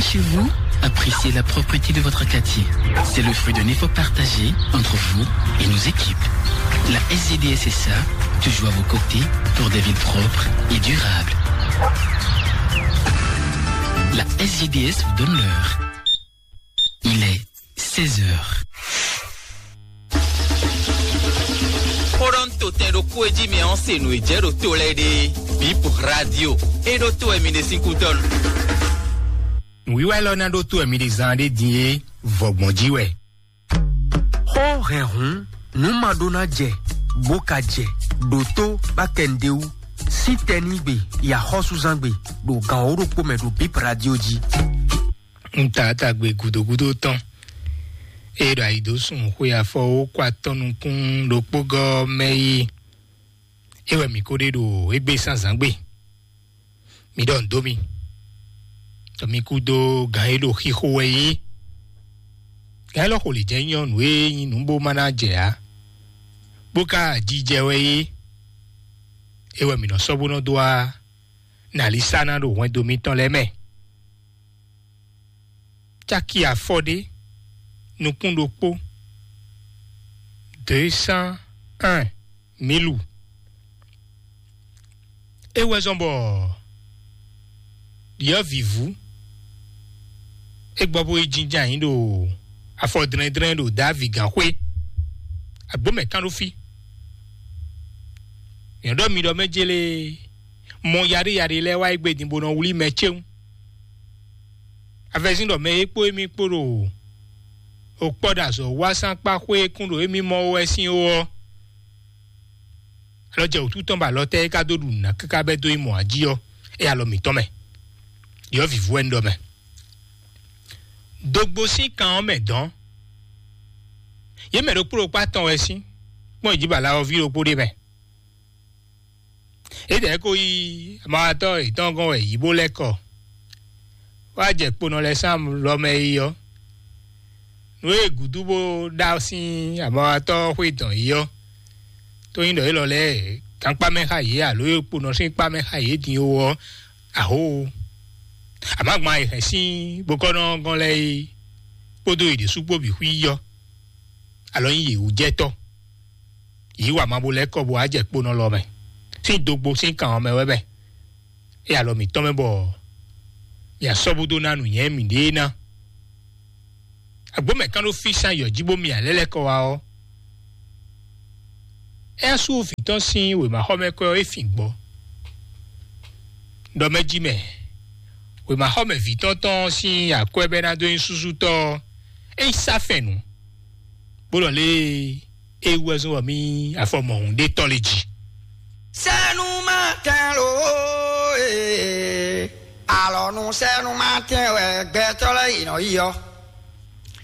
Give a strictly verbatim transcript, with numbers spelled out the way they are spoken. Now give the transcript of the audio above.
Chez vous, appréciez la propreté de votre quartier. C'est le fruit d'un effort partagé entre vous et nos équipes. La S G D S S A, toujours à vos côtés pour des villes propres et durables. La S G D S vous donne l'heure. Il est seize heures. Xó ɖɔ nú totɛn ɖokpó e jí mi ɔ́ se nǔ e jɛ ɖo to lɛ́ɛ ɖe. Bip Radio. E ɖó to wɛ mi ɖe sín kútɔ́ nu. Nǔwiwa élɔ́ ná ɖó to wɛ mi ɖe zán ɖé din é, vɔgbɔn jí wɛ. Xó hɛn hǔn, nǔ ma ɖó ná jɛ, bó ka jɛ, ɖo tó bá kɛ nǔɖé wú. Sí tɛnígbe, yi axɔ́súzángbe, ɖo gan wǒ ɖokpó mɛ ɖo Bip Radio jí. Un ta tagbe gǔdo gúdo tɔn. Ée ɖo ayi dó sun xwe afɔ wó kɔ atɔn nukún ɖokpó gɔ́ mɛ yi. É wɛ mǐ ko ɖe ɖo égbé zǎnzǎngbe. Mi ɖɔ nǔ dó mì. Ɖɔ mi kú dó gǎn e ɖo xixo wɛ é. Gǎn élɔ́ xo lě jɛ nyɔ́ nǔ e nyí nǔ bó ma ná jɛ ǎ. Bó ka jijɛ wɛ é. É wɛ mǐ nɔ sɔ́ bó nɔ dó wá nǎlísáná ɖo hwɛndo mitɔn lɛ́ɛ mɛ. Caki afɔ ɖé, nukún ɖokpó, deux cent un, mílu. É wɛ zɔ́n bɔ ɖyɔ̌vǐvú é gbɔ bó yi jínjɔ́n ayǐ ɖo afɔ dlɛ́ndlɛ́n ɖo Davi gǎnxwé. Agbǒ mɛ kán ɖó fí. Nyɔ̌ ɖɔ mi ɖɔ mɛ jélé mɔ yaɖé yaɖé lɛ́ɛ wá yi gbe din bó nɔ wlí mɛ céwún. Avɛzín ɖɔ mɛ e kpó émí kpó ɖo òkpɔ́ ɖo azɔ̌ wá sán kpá xwé e kún ɖo émí mɔ wɛ sín ó ɔ́, alɔ jɛ wǔtu tɔn bɔ alɔ tɛ́ é ka dó ɖu nǔ ná káká bɛ́ dó yi mɔ̌ jí ɔ́, é alɔ mǐtɔn mɛ. Ɖyɔ̌vǐvú wɛ un ɖɔ mɛ. Dogbo sín kan ɔ́ mɛ dɔn. Yě mɛ ɖokpó ɖokpó atɔn wɛ sín kpɔ́n ìjíbala ɔ́ ví ɖokpó ɖé mɛ. Édɛɛ ko yí amawatɔ́ yětɔn gɔ́n wɛ yǐ bó lɛ́ kɔ. Wá jɛ kponɔ lɛ́ɛ sín lɔ mɛ yi ɔ́, nǔ e gǔdo bó ɖa sín amawatɔ́ xwé dɔn yi ɔ́, tó nyí ɖɔ élɔ́ lɛ́ɛ gankpá mɛ xá yě alo e kponɔ sín kpá mɛ xá yě din ó ɔ́, ahó. Amǎgban e hɛn sín bokɔ́nɔ gɔ́n lɛ́ɛ é kpódó yě ɖésú kpó bǐ xwí yi ɔ́, alɔ nyí yě wú jɛ tɔ́. Yǐ wa ma bo lɛ́ kɔ bo wá jɛ kponɔ lɔ mɛ sín dogbo sín kan ɔ́ mɛ wɛ mɛ. É alɔ mǐtɔn mɛ bɔ mǐ asɔ́ búdó ná nǔnywɛ́ mǐɖée ná. Agbǒ mɛ kán ɖó fí sín ayɔ jí bó mi alɛ́ lɛ́ kɔ wá ɔ́, é sú vǐ tɔn sín wěmaxɔmɛkwɛ́ ɔ́ é fin gbɔ. Ɖɔ mɛ jí mɛ, wěmaxɔmɛ vǐ tɔn tɔn sín akwɛ́ bɛ́ ná dó nyí súsútɔ́ ɔ́, é yi sá fɛn nǔ, bó ɖɔ lé é wú wɛ zɔ́n bɔ mì afɔ mɔ̌hun ɖé tɔn lé jí. Sɛnu ma tɛn lo, ee, alɔ nu sɛnu ma tɛn wɛ gbɛtɔ́ lɛ́ɛ yi nɔ yi ɔ́.